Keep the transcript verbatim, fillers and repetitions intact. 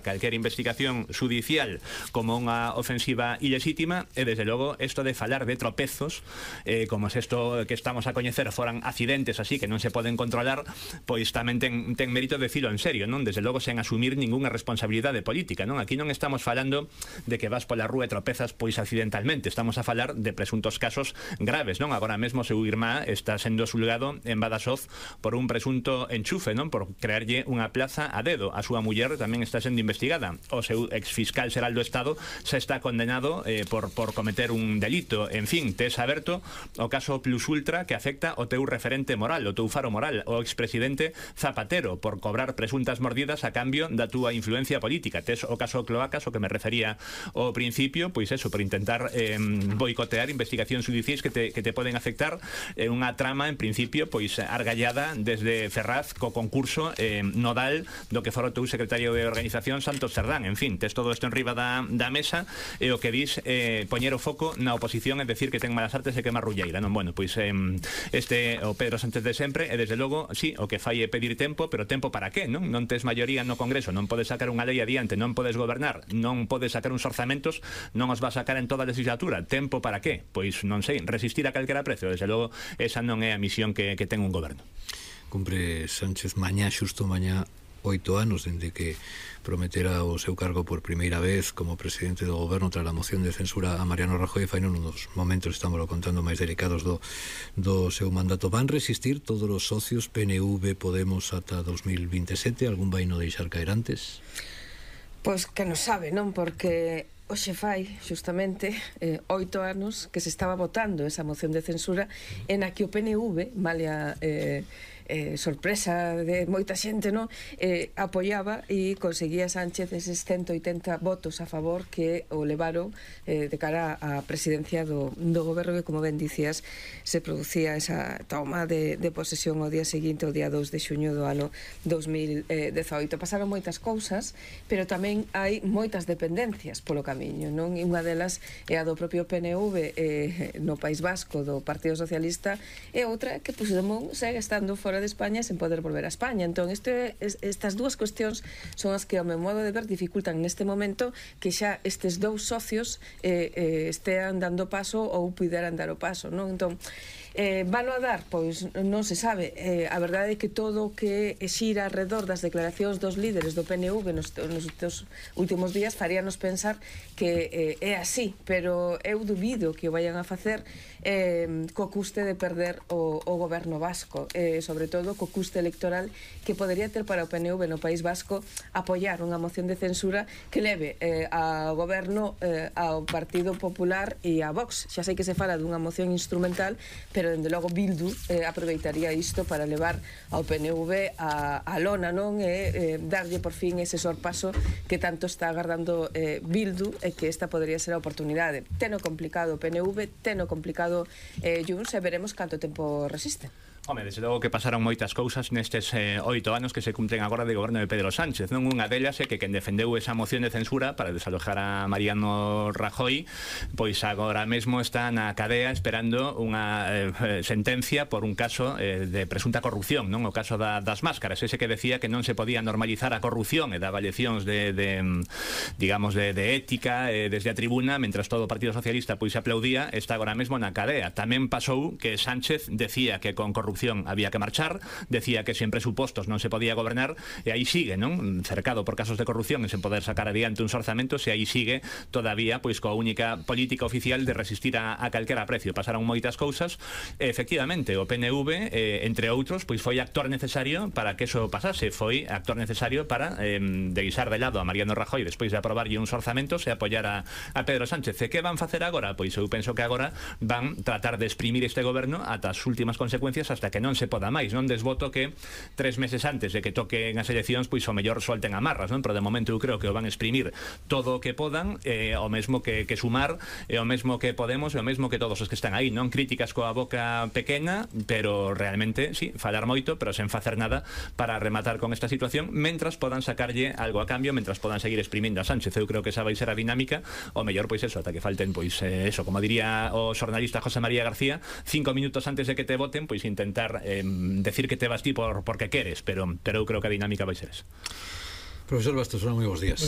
calquera investigación judicial como unha ofensiva ilexítima e, desde logo, isto de falar de tropezos, eh, como se isto que estamos a coñecer foran accidentes así que non se poden controlar, pois tamén ten, ten mérito de decirlo en serio, non? Desde logo sen asumir ningunha responsabilidade política, non? Aquí non estamos falando de que vas pola rúa e tropezas pois accidentalmente, estamos a falar de presuntos casos graves, non? Agora mesmo seu irmá está sendo xulgado en Badaxoz por un presunto enchufe, non? Por crearlle unha plaza a dedo. A súa muller tamén está sendo investigada. O seu exfiscal xeral do Estado xa está condenado eh, por, por cometer un delito. En fin, tes aberto o caso Plus Ultra que afecta o teu referente moral, o teu faro moral, o expresidente Zapatero, por cobrar presuntas mordidas a cambio da túa influencia política. Tes o caso Cloacas, o que me refería ao principio, pois eso, por intentar eh, boicotear investigacións judiciais que te, que te poden afectar, eh, unha trama, en principio, pois argallada desde Ferraz co concurso eh, nodal do que fora o teu secretario de Organización Santos Cerdán. En fin, tes todo isto en riba da, da mesa e o que dis eh, poñer o foco na oposición é decir que ten malas artes e que é marrulleira, non? Bueno, pois eh, este o Pedro Sánchez de sempre e, desde logo, sí, o que fai é pedir tempo, pero tempo para qué, non? Non tes maioría no Congreso, non podes sacar unha lei adiante, non podes gobernar, non podes sacar uns orzamentos, non os vas sacar en toda a legislatura. Tempo para qué? Pois non sei, resistir a calquera precio. Desde logo, esa non é a misión que, que ten un goberno. Cumpre Sánchez mañá, xusto mañá, oito anos dende que prometera o seu cargo por primeira vez como presidente do goberno tras a moción de censura a Mariano Rajoy. Fai nun dos momentos, estamos contando, máis delicados do, do seu mandato. Van resistir todos os socios P N V, Podemos ata dos mil vinte e sete? Algún vai no deixar caer antes? Pois que non sabe, non? Porque hoxe fai, xustamente, eh, oito anos que se estaba votando esa moción de censura en a que o P N V, malia eh, eh, sorpresa de moita xente, non? Eh, apoiaba e conseguía Sánchez eses ciento oitenta votos a favor que o levaron eh, de cara á presidencia do, do goberno, que, como ben dicías, se producía esa toma de, de posesión o día seguinte, o día dous de xuño do ano dos mil dezaoito. Pasaron moitas cousas, pero tamén hai moitas dependencias polo camiño, non? E unha delas é a do propio P N V eh, no País Vasco do Partido Socialista, e outra que Puigdemont segue estando fora de España sen poder volver a España. Entón, este, estas dúas cuestións son as que, ao meu modo de ver, dificultan neste momento que xa estes dous socios eh, eh, estean dando paso ou puderan dar o paso, non? Entón, Eh, vano a dar? Pois non se sabe. Eh, a verdade é que todo o que xira alrededor das declaracións dos líderes do P N V nos, nos, nos últimos días faríanos pensar que eh, é así, pero eu dubido que o vayan a facer eh, co custe de perder o, o goberno vasco, eh, sobre todo co custe electoral que podería ter para o P N V no País Vasco apoiar unha moción de censura que leve eh, ao goberno, eh, ao Partido Popular e a Vox. Xa sei que se fala dunha moción instrumental, pero pero dende logo Bildu eh, aproveitaría isto para levar ao P N V a, a lona, non? E eh, darlle por fin ese sorpaso que tanto está agardando eh, Bildu, e que esta podería ser a oportunidade. Teno complicado o P N V, teno complicado eh, Junts, e veremos canto tempo resiste. Home, desde logo que pasaron moitas cousas nestes eh, oito anos que se cumplen agora de goberno de Pedro Sánchez, non? Unha delas é que quen defendeu esa moción de censura para desalojar a Mariano Rajoy, pois agora mesmo está na cadea esperando unha eh, sentencia por un caso eh, de presunta corrupción, non? O caso da, das máscaras, ese que decía que non se podía normalizar a corrupción e daba leccións de, de digamos, de, de ética eh, desde a tribuna, mentras todo o Partido Socialista pois se aplaudía. Está agora mesmo na cadea. Tamén pasou que Sánchez decía que con corrupción había que marchar, decía que sen presupostos non se podía gobernar, e aí sigue, non? Cercado por casos de corrupción e sen poder sacar adiante uns orzamentos, e aí sigue todavía pois coa única política oficial de resistir a, a calquera precio. Pasaron moitas cousas e, efectivamente, o P N V, eh, entre outros, pois foi actor necesario para que eso pasase, foi actor necesario para eh, deixar de lado a Mariano Rajoy despois de aprobarlle uns orzamentos e apoiar a, a Pedro Sánchez. E que van facer agora? Pois eu penso que agora van tratar de exprimir este goberno ata as últimas consecuencias, hasta que non se poda máis, non? Desvoto que tres meses antes de que toquen as eleccións pois o mellor solten amarras, non? Pero de momento eu creo que o van exprimir todo o que podan, eh, o mesmo que, que Sumar, e o mesmo que Podemos, e o mesmo que todos os que están aí, non? Críticas coa boca pequena, pero realmente, sí, falar moito, pero sen facer nada para rematar con esta situación, mentras podan sacarlle algo a cambio, mentras podan seguir exprimindo a Sánchez. Eu creo que esa vai ser a dinámica, o mellor pois eso, ata que falten pois eh, eso, como diría o xornalista José María García, cinco minutos antes de que te voten, pois intentar eh, decir que te vas ti por, porque queres, pero, pero eu creo que a dinámica vai ser esa. Profesor Bastos, moi bons días.